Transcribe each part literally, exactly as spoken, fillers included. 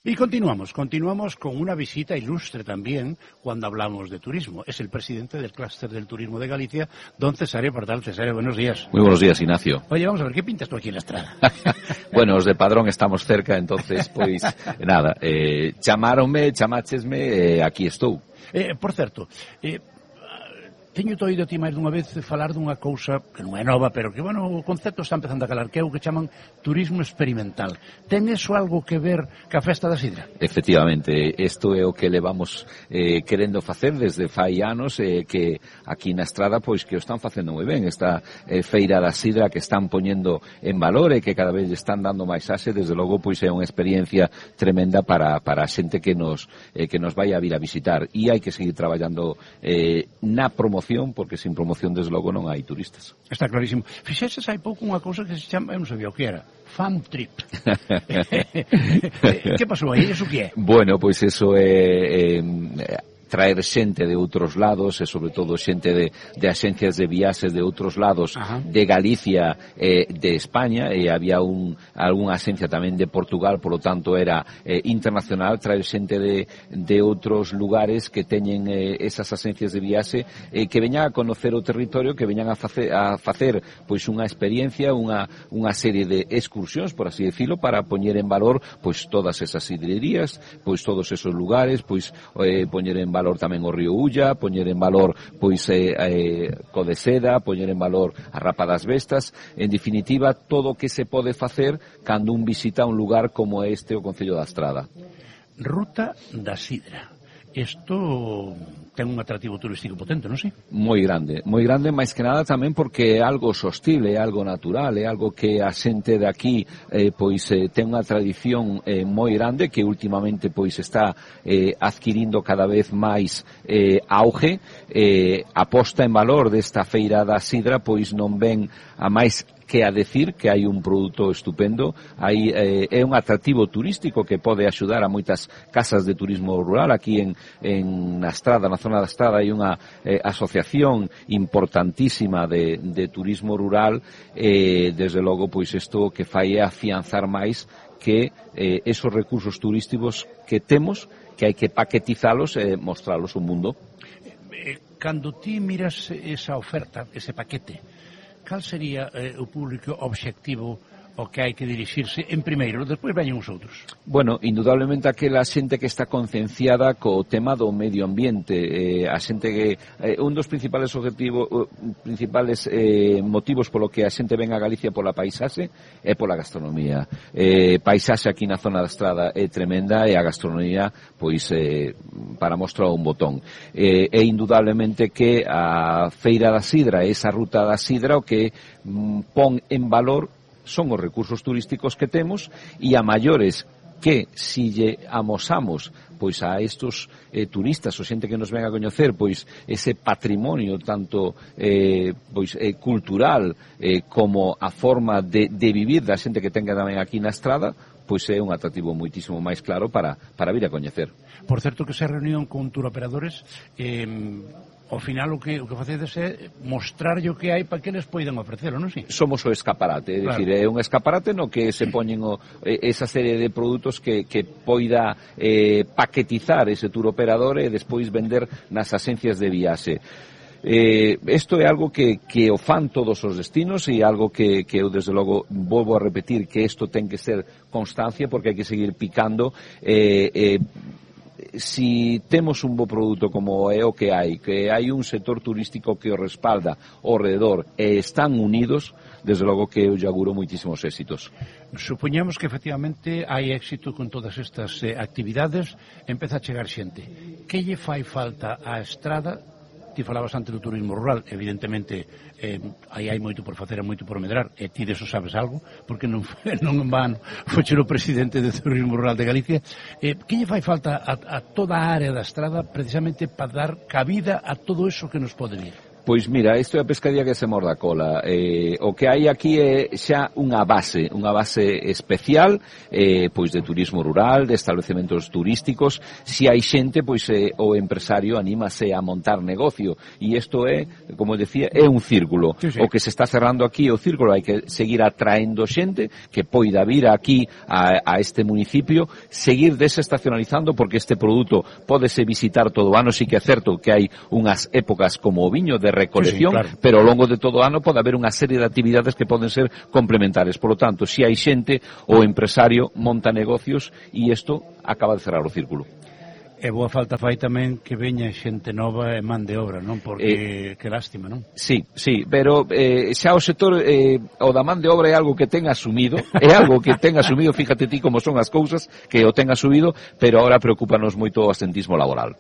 Y continuamos, continuamos con una visita ilustre también cuando hablamos de turismo. Es el presidente del clúster del turismo de Galicia, don Cesáreo Pardal. Cesáreo, buenos días. Muy buenos días, Ignacio. Oye, vamos a ver, ¿qué pintas tú aquí en la Estrada? Bueno, os de Padrón estamos cerca, entonces, pois, nada, eh, chamáronme, chamáchesme, eh, aquí estou. Eh, por certo, eh, teño oído a ti máis dunha vez falar dunha cousa que non é nova, pero que, bueno, o concepto está empezando a calar, que é o que chaman turismo experimental. Ten eso algo que ver ca festa da sidra? Efectivamente, isto é o que levamos eh, querendo facer desde fai anos, eh, que aquí na Estrada, pois, que o están facendo moi ben, esta eh, feira da sidra que están poñendo en valor e que cada vez están dando máis ase, desde logo, pois, é unha experiencia tremenda para, para a xente que nos, eh, que nos vai a vir a visitar, e hai que seguir traballando eh, na promoción, porque sin promoción, desde logo, non hai turistas. Está clarísimo. Fixeses hai pouco unha cousa que se chama, eu non sabía o que era, fan trip. Que pasou aí? Eso que é? Bueno, pois eso é... é traer xente de outros lados e sobre todo xente de, de axencias de viaxes de outros lados. Ajá. De Galicia e eh, de España, e había un, algunha axencia tamén de Portugal, polo tanto era eh, internacional, traer xente de, de outros lugares que teñen eh, esas axencias de viaxe, eh, que veñan a conocer o territorio, que veñan a facer, a facer pois unha experiencia, unha, unha serie de excursións, por así decirlo, para poñer en valor pois todas esas sidrerías, pois todos esos lugares, pois eh, poñer en valor tamén o río Ulla, poñer en valor pois eh, eh, Codeseda, poñer en valor a Rapa das Vestas, en definitiva todo o que se pode facer cando un visita un lugar como este o Concello da Estrada. Ruta da Sidra. Isto ten un atractivo turístico potente, non sei? Moi grande, moi grande, máis que nada tamén porque é algo sostible, é algo natural, é algo que a xente de aquí eh, pois eh, ten unha tradición eh, moi grande que últimamente pois está eh, adquirindo cada vez máis eh, auge, eh, a posta en valor desta feira da sidra pois non ven a máis que a decir que hai un produto estupendo, hai, eh, é un atractivo turístico que pode axudar a moitas casas de turismo rural. Aquí en, en na Estrada, na zona da Estrada, hai unha eh, asociación importantísima de, de turismo rural, e eh, desde logo pois isto que fai é afianzar máis que eh, esos recursos turísticos que temos, que hai que paquetizalos e mostralos ao mundo. Cando ti miras esa oferta, ese paquete, cal sería eh, o público obxectivo o que hai que dirixirse en primeiro, despois veñen os outros? Bueno, indudablemente aquela xente que está concienciada co tema do medio ambiente, eh, a xente que eh, un dos principales objetivos, principales eh, motivos polo que a xente ven a Galicia pola paisaxe é pola gastronomía. Eh, paisaxe aquí na zona da Estrada é tremenda e a gastronomía, pois, eh, para mostrar un botón. Eh, é indudablemente que a Feira da Sidra, esa ruta da Sidra, o que mm, pon en valor son os recursos turísticos que temos, e a maiores que si lle amosamos pois a estos eh, turistas, ou xente que nos ven a coñecer, pois ese patrimonio tanto eh, pois eh, cultural eh, como a forma de, de vivir da xente que tenga tamén aquí na Estrada, pois é un atractivo moitísimo máis claro para, para vir a coñecer. Por certo que se reunión con turoperadores, eh, ao final o que, o que facedes é mostrarlle o que hai para que eles poidan ofrecelo, non sei? Somos o escaparate, é claro. dicir, é un escaparate no que se poñen o, esa serie de produtos que, que poida eh, paquetizar ese turoperador e despois vender nas axencias de viaxe. Eh, isto é algo que, que o fan todos os destinos, e algo que, que eu desde logo volvo a repetir que isto ten que ser constancia, porque hai que seguir picando. eh, eh, si temos un bo produto como é o que hai, que hai un sector turístico que o respalda ao redor e están unidos, desde logo que eu lle auguro moitísimos éxitos. Supoñamos que efectivamente hai éxito con todas estas eh, actividades, empeza a chegar xente. Que lle fai falta á Estrada? Ti falabas antes do turismo rural, evidentemente eh, aí hai moito por facer e moito por medrar, e ti deso sabes algo, porque non, non en vano foche o presidente do turismo rural de Galicia. Eh, que lle fai falta a, a toda a área da Estrada precisamente para dar cabida a todo eso que nos pode vir? Pois mira, isto é a pescadilla que se morda a cola. Eh, o que hai aquí é xa unha base, unha base especial, eh, pois de turismo rural, de establecementos turísticos. Si hai xente, pois eh, o empresario anímase a montar negocio. E isto é, como decía, é un círculo. Sí, sí. O que se está cerrando aquí é o círculo, hai que seguir atraendo xente que poida vir aquí a, a este municipio, seguir desestacionalizando, porque este produto pódese visitar todo o ano. Sí que é certo que hai unhas épocas como o viño de recolección, sí, sí, claro, pero ao longo de todo o ano pode haber unha serie de actividades que poden ser complementares. Por lo tanto, se hai xente, o empresario monta negocios e isto acaba de cerrar o círculo. E boa falta fai tamén que veña xente nova e man de obra, non? Porque, eh, que lástima, non? Sí, sí, pero eh, xa o sector, eh, o da man de obra é algo que ten asumido, é algo que ten asumido, fíjate ti como son as cousas, que o ten asumido, pero ahora preocupanos moito o absentismo laboral.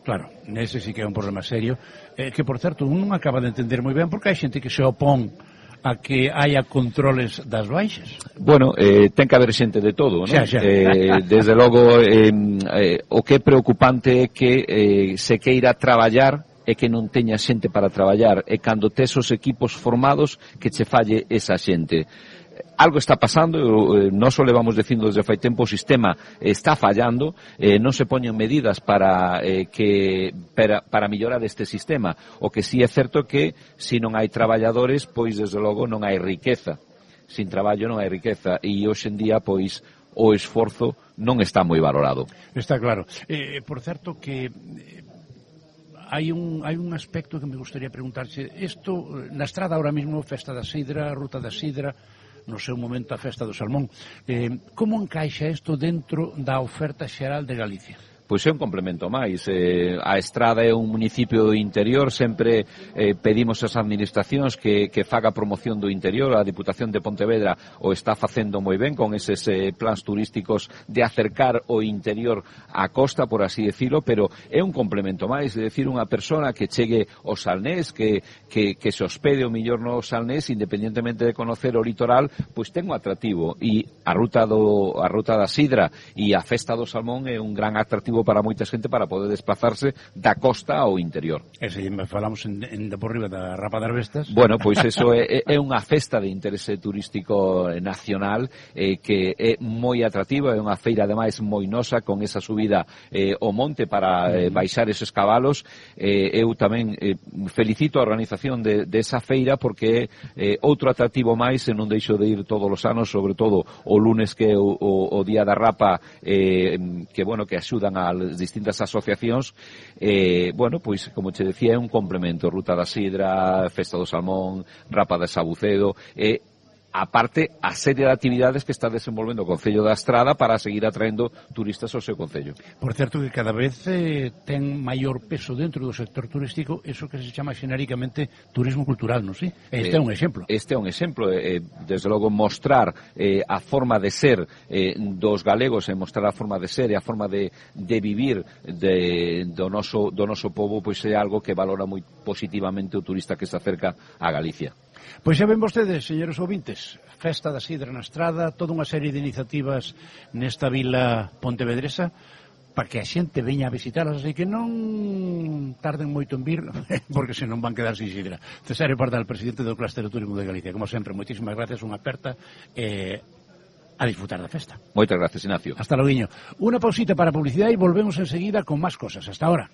Claro, nese sí que é un problema serio, eh, que, por certo, un non acaba de entender moi ben porque hai xente que se opón a que haya controles das baixas. Bueno, eh, ten que haber xente de todo, non? Xa, xa. Eh, desde logo, eh, eh, o que é preocupante é que eh, se queira traballar e que non teña xente para traballar, e cando tes os equipos formados que che falle esa xente. Algo está pasando, eh, non só levamos dicindo desde fai tempo, o sistema está fallando, eh, non se poñen medidas para eh, que para, para mellorar este sistema. O que sí é certo que se non hai traballadores, pois desde logo non hai riqueza. Sin traballo non hai riqueza, e hoxe en día pois o esforzo non está moi valorado. Está claro. Eh, por certo que eh, hai un hai un aspecto que me gustaría preguntarse. Isto, na estrada ahora mismo, Festa da Sidra, Ruta da Sidra, no seu momento a Festa do Salmón, eh, como encaixa isto dentro da oferta xeral de Galicia? Pois é un complemento máis. Eh, a Estrada é un municipio interior, sempre eh, pedimos ás administracións que, que faga promoción do interior. A Diputación de Pontevedra o está facendo moi ben con eses eh, plans turísticos de acercar o interior á costa, por así decirlo, pero é un complemento máis, é dicir, unha persona que chegue ao Salnés, que, que, que se hospede o millor no Salnés, independentemente de conocer o litoral, pois ten un atractivo, e a ruta, do, a ruta da Sidra e a Festa do Salmón é un gran atractivo para moita xente para poder desplazarse da costa ao interior. E se falamos en, en de por riba da Rapa das Vestas... Bueno, pois eso é, é unha festa de interese turístico nacional eh, que é moi atractiva, é unha feira ademais moi nosa, con esa subida eh, ao monte para eh, baixar eses cabalos. Eh, eu tamén eh, felicito a organización de, de esa feira, porque é eh, outro atractivo máis, e non deixo de ir todos os anos, sobre todo o lunes, que é o, o, o Día da Rapa, eh, que, bueno, que axudan a as distintas asociacións. Eh, bueno, pois, como che decía, é un complemento. Ruta da Sidra, Festa do Salmón, Rapa de Sabucedo, e eh, aparte a serie de actividades que está desenvolvendo o Concello da Estrada para seguir atraendo turistas ao seu concello. Por certo que cada vez eh, ten maior peso dentro do sector turístico eso que se chama xenéricamente turismo cultural, non si? Este eh, é un exemplo. Este é un exemplo, eh, desde logo mostrar eh, a forma de ser eh, dos galegos, e mostrar a forma de ser e a forma de, de vivir de, do, noso, do noso povo, pois é algo que valora moi positivamente o turista que se acerca a Galicia. Pois xa ven vostedes, señores ouvintes, Festa da Sidra na Estrada, toda unha serie de iniciativas nesta vila pontevedresa para que a xente veña a visitarlas, así que non tarden moito en vir, porque senón van quedar sin sidra. Cesáreo Pardal, presidente do Clúster de Turismo de Galicia, como sempre, moitísimas gracias, unha aperta eh, a disfrutar da festa. Moitas gracias, Ignacio. Hasta logo. Unha pausita para publicidade e volvemos enseguida con máis cosas. Hasta ahora.